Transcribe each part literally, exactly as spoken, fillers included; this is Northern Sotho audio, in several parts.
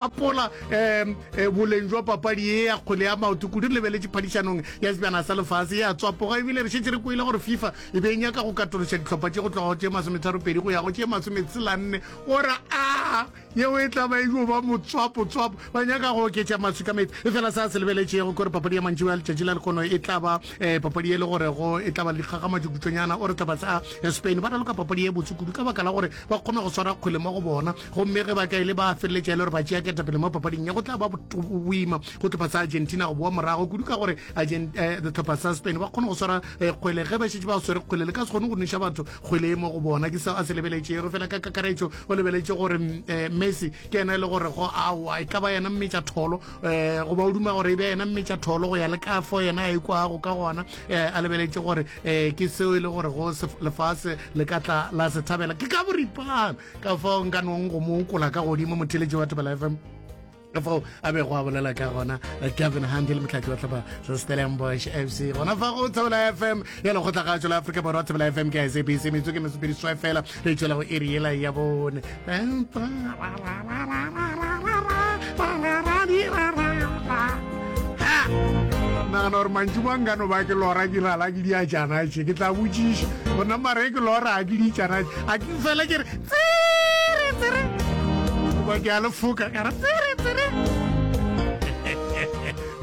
Apola um boleng jwa papadi ye ya kgwele ya maoto kudu re lebeletše phadišanong ya Sebjana sa Lefase ya tswapoga, ebile re šetše re kwele gore FIFA e be e nyaka go katološa dihlopha tše go tloga go tše masometharopedi go ya go tše masometshela-nne, gore a yeo e tla ba e yo ba motswapo-tswapo. Ba nyaka go oketša maswi ka meetse. Efela se a se lebeletšego ke gore papadi ya mantšiboa ya letšatši la lehono e tla ba um papadi e le gorego e tla ba le dikgagamatšo kutšwanyana. O re hlopha sa Spain ba raloka papadi ye botse kudu ka baka la gore ba kgona go swara kgwele mo go bona, gomme ge ba ka ile ba feleletša e le gore ba tšea ketapele mo papading ye, go tla ba boima go tlhopha sa Argentina go boa morago kudu ka gore tlhopha sa Spain ba kgone go swara kgwele. Ge ba šetše ba swere kgwele, le ka se kgone go nweša batho kgwele e mo go bona. Ke seo a se lebeletšego. Fela ka kakaretšo o lebeletše gore Messi ke yena e le gore go aowa e ka ba yena mmetša tholo, um goba o duma gore e be yena mmetša tholo go ya le ka fo yena a ikwago ka gona, um a lebeletše gore um ke seo e le gore go lefase le ka tla la se thabela. Ke ka boripana ka fao nka nong go mo okola ka godimo motheletši wa Thobela F M, ka fao a bego a bolela ka gona Gavin Hunt le motlhatli wa tlhopha sa Stellenbosch F C gona fa go Thobela F M ya lekgotlakgatšo la Afrika Borwa. Thobela F M ke S A B C, metsotso ke mesopedi seswai fela re tšwela go iri yela ya bone. Nagana gore mantšu ba nkano ba ke lora ke lala ke diatšana tše, ke tla botšiša gona mare ke lora a ke ditšana tše, a ke fela ke re tsere tsere goba ke a le foka ka re tsere tsere,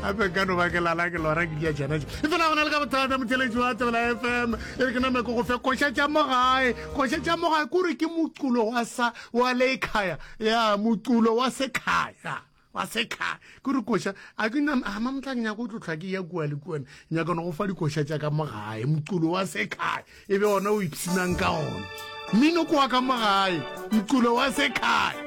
gape nkano ba ke lala ke lora ke diatšana tše. E fela gona le ka bothata motheletši wa Thobela F M, e re ke name ke go fe koša tša mo gae. Koša tša mo gae kore ke moculo wa sa wa lekhaya ya moculo wa sekhaya wa sekhaya ke re koša a ke nna a mamotla ke nyaka o tlotlha ke ya kua le kua, nyaka no go fa dikoša tša ka mo gae, moculo wa sekhaya e be ona o ipshinang ka ona, mmino ke wa ka mo gae, moculo wa sekhaya.